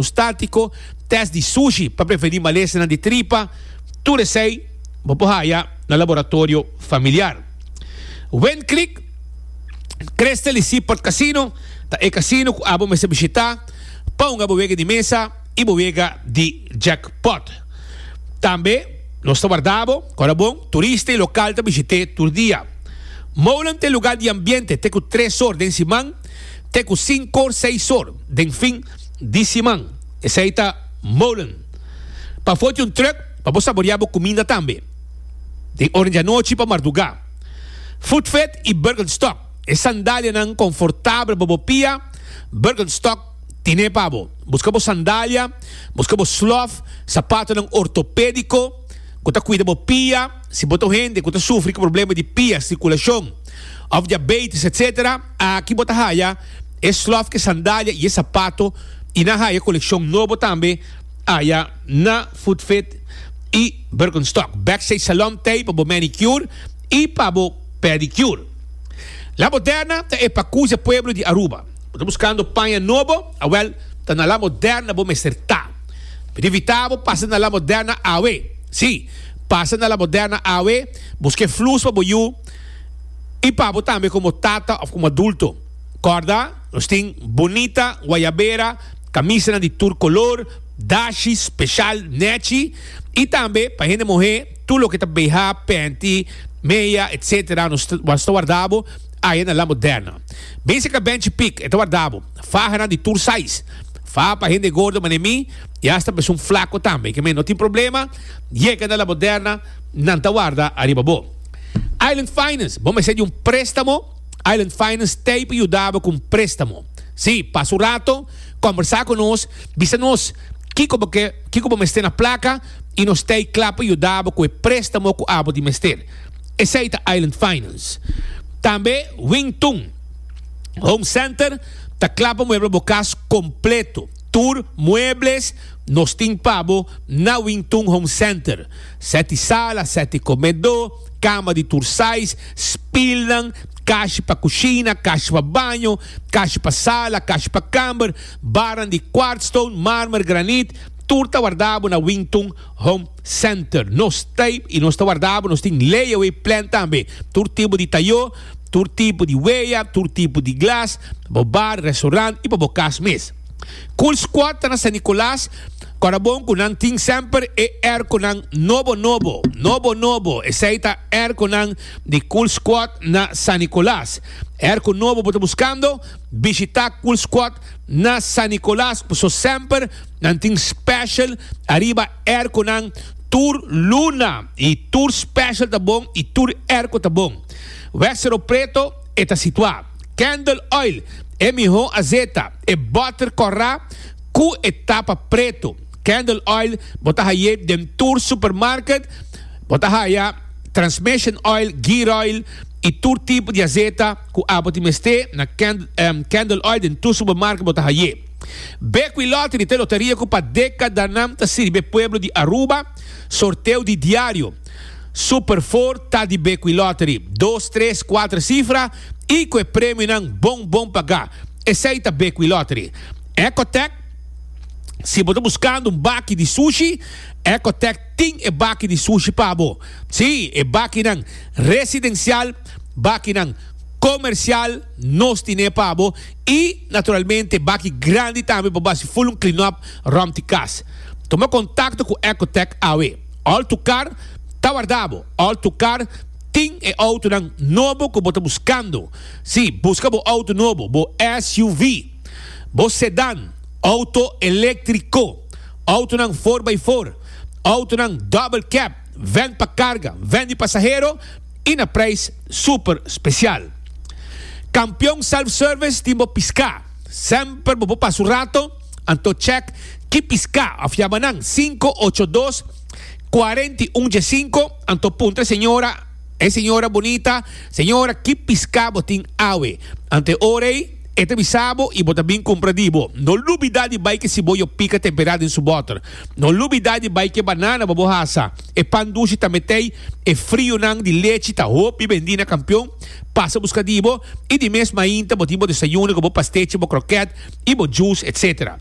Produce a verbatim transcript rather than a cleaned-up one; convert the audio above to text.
Statico, test di sushi pa preveni malesanan di tripa, tur esey bo por haya na Laboratorio Familiar. Wind Creek, Crystal y Seaport Casino ta e casino cu abo mester bishita pa hunga bo wega di mesa y bo wega di jackpot. Tambe nos ta warda bo, ora bon, turista y local ta bishite tur dia. Molen ta e lugar di ambiente te cu tres or den siman te cu cinco or, seis or den fin di siman. Esey ta Molen. Pafo tin un truck pa bo saborea bo cuminda tambe. Den ora di anochi pa marduga. Footfit y Birkenstock, e sandalianan confortabel pa bo pia, Birkenstock tine pa bo. Busca bo sandalia, busca bo slof, sapatonan ortopedico cu ta cuida bo pia. Si bo ta un hende cu ta sufri cu problema di pia, circulacion of diabetes etc. Aki bo ta haya e slof cu e sandalia y e sapato y nan haya coleccion nobo tambe aya na Footfit y Birkenstock. Backstage Salon t'ey pa bo manicure y pa bo pedicure. La Moderna ta e pacusia pueblo di Aruba. Bo ta buscando paña nobo? Awel, ta na La Moderna bo mester ta. Mi ta invita bo pasa na La Moderna awe. Sí, pasa na La Moderna awe, busca e flus pa bo yu y pa bo tambe como tata of como adulto. Corda, nos tin bunita guayabera, camisanan di tur color, dashi special nechi y tambe pa hende muhe tur loke ta B H, panty, meia, etcetera. Nos ta warda bo aya na La Moderna. Basica Benchi Pick e ta warda bo. Fahanan di tur size. Faha pa hende gordo mane mi y hasta pa esun flaco tambe. Ke men no tin problema, yega na La Moderna, nan ta warda ariba bo. Island Finance, bo mester di un prestamo? Island Finance t'ei pa yuda bo ku un prestamo. Sí, pasa un rato, kombersá ku nos, bisa nos kiko bo ke, kiko bo mester na plaka i nos t'ei kla pa yuda bo ku e prestamo ku abo di mester. Esei ta Island Finance. Tambe Wing Tun Home Center ta kla pa muebla bo kas kompleto. Tur muebles nos tin pa bo na Wing Tun Home Center. Seti sala, seti komedó, kama di tur size, spilnan, kashi pa kushina, kashi pa baño, kashi pa sala, kashi pa kamber, barnan di kwartstone, marmer, granit, tur ta warda bo na Wing Tun Home Center. Nos ta i nos ta warda bo, nos tin layaway plan tambe. Tur tipo di tayó, tur tipo di weya, tur tipo di glas, pa bo bar, restaurant i pa bo kas mes. Cool Squad ta na San Nicolas, kòrda bon ku nan tin semper e airconan nobo nobo, nobo nobo, esei ta airconan di Cool Squad na San Nicolas. Airco nobo bo ta buskando? Bishita Cool Squad na San Nicolas, paso semper nan tin special ariba airconan tur luna i tur special ta bon i tur airco ta bon. Westero Preto e ta situá. Candle Oil, e mihó azeta, e bòter kòrá ku e tapa pretu. Candle Oil bo ta haye den tur supermarket. Bo ta haya transmission oil, gear oil i tur tipo di azeta ku abo tin mester na Candle Oil den tur supermarket bo ta haye. Bequi Lottery ta e loteria ku pa dekadanan ta sirbi e pueblo di Aruba. Sorteo di diario Super Four ta di Bequi Lottery. Dos, tres, kuater sifra i ku e premionan bon bon pagá. Esei ta Bequi Lottery. Ecotec, Si bo ta buskando un baki di sushi, Ecotec tin e baki di sushi pa bo. Sí, e bakinan residensial, bakinan komersial, nos tine pa bo. I, naturalmente, baki grandi tambe pa bo hasi ful un clean up rònt di kas. Tuma kontakto ku Ecotec awe. All to Car ta warda bo. All to Car tin e outonan nobo ku bo ta buskando. Sí, buska bo outo nobo, bo S U V, bo sedan, outo eléktriko, outonan four by four, outonan double cab, vèn pa karga, vèn di pasahero i na preis super spesial. Kampion Self Service tin bo piská. Semper bo por pasa un rato, anto chèk ki piská òf yama nan sinku ocho dos, Cuarenta y un dje cinco, anto puntra e señora, e señora bunita, Señora, ki pisca bo tin awe? Anto e ora ei, e ta bisa bo y bo ta bin cumpra di bo. No lubida di bai ke siboyo pica tempera den su boter. No lubida di bai ke banana pa bo hasa. E pan dushi ta metey, e frionan di lechi ta hopi bendi na Campeon. Pasa busca di bo y di mes mainta bo tin bo desayuno cu bo pastechi, bo kroket y bo juice, etcetera.